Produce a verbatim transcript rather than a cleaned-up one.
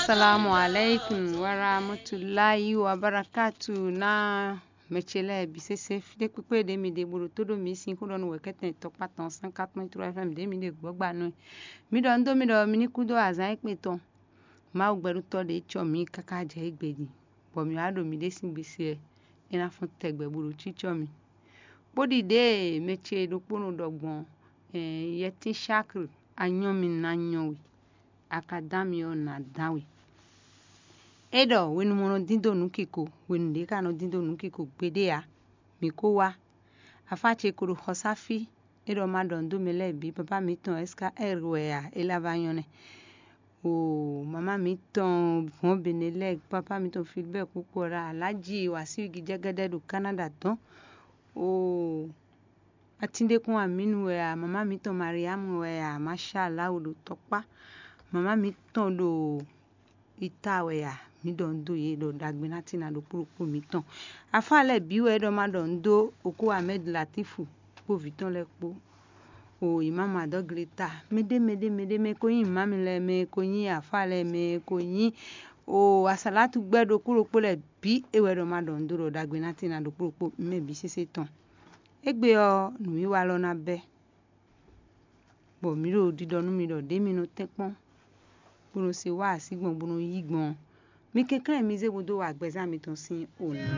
Salamu alaikum warahmatullahi wabarakatu. Na mɛ ce lɛ́ɛ bǐ sésé, fí ɖé kpékpé ɖě mi ɖe bó ɖo tó ɖó mǐ sín xó ɖɔ nú wɛ̌kɛ́tɛn tɔkpá tɔn cent quatre point trois F M ɖě mi ɖe gbɔ̌gba nú ɛ. Mi ɖɔ nú dó mi ɖɔ mi ní kú dó azǎn e kpé tɔn. Mawu gbɛɖutɔ́ ɖě cɔ mǐ káká jɛ égbé din, bɔ mǐ wá ɖo mǐɖée sín gbe se wɛ, é ná fɔ́n tɛgbɛ bó ɖo cícɔ́ mì. Bó ɖi ɖěe mɛ ce ɖokpónɔ ɖɔ gbɔn, yɛtín Shakl, a nyɔ́ mì ná nyɔ́ we, a ka dán mì ɔ́, nǎ dán we. É ɖɔ hwenu mɔ nɔ dín dó nǔ kiko, hwenu ɖě ka nɔ dín dó nǔ kiko gbeɖé ǎ. Mǐ ko wá. Afá ce ko ɖo xɔsáfí, é ɖɔ ma ɖɔ nǔ dó mɛ lɛ́ɛ bǐ, papá mǐtɔn S K R wɛ a, é lá vá nyɔ́ nɛ́. O mama mǐtɔn hɔn Benelɛk, papá mǐtɔn Filibɛ́ɛ Kpukpɔla, Alaji Wasiwigi jɛgɛdɛ ɖo Kanada dɔn. O Atíndékún Aminu wɛ a, mama mǐtɔn Mariamu wɛ a, mashallah ɖo tɔkpá. Mama mǐtɔn ɖo ita wɛ a, mǐ ɖɔ nǔ dó yě ɖɔ ɖagbe ná tín ná ɖokpó ɖokpó mǐtɔn. Afá lɛ́ɛ bǐ wɛ é ɖɔ ma ɖɔ nǔ dó Okó Ahmed Latifu kpó vǐ tɔn lɛ́ɛ kpó. O Imam Adɔgleta, mɛɖé mɛɖé mɛɖé mɛ ko nyí imam lɛ́ɛ, mɛ ko nyí afá lɛ́ɛ, mɛ ko nyí o asalatu gbɛ ɖokpó ɖokpó lɛ́ɛ bǐ é wɛ ɖɔ ma ɖɔ nǔ dó ɖɔ ɖagbe ná tín ná ɖokpó ɖokpó mɛ bǐ sésé tɔn. Égbé ɔ́, nǔwiwa lɔ ná bɛ́, bɔ mǐ ɖo ɖiɖɔ nú mi ɖɔ ɖě mi nɔ tɛ́nkpɔ́n, bó nɔ se wá así gbɔn, bó nɔ yí gbɔn ɔ́, mi kɛnklɛ́n mi zé bó dó wa gbɛzán mitɔn sín o ná.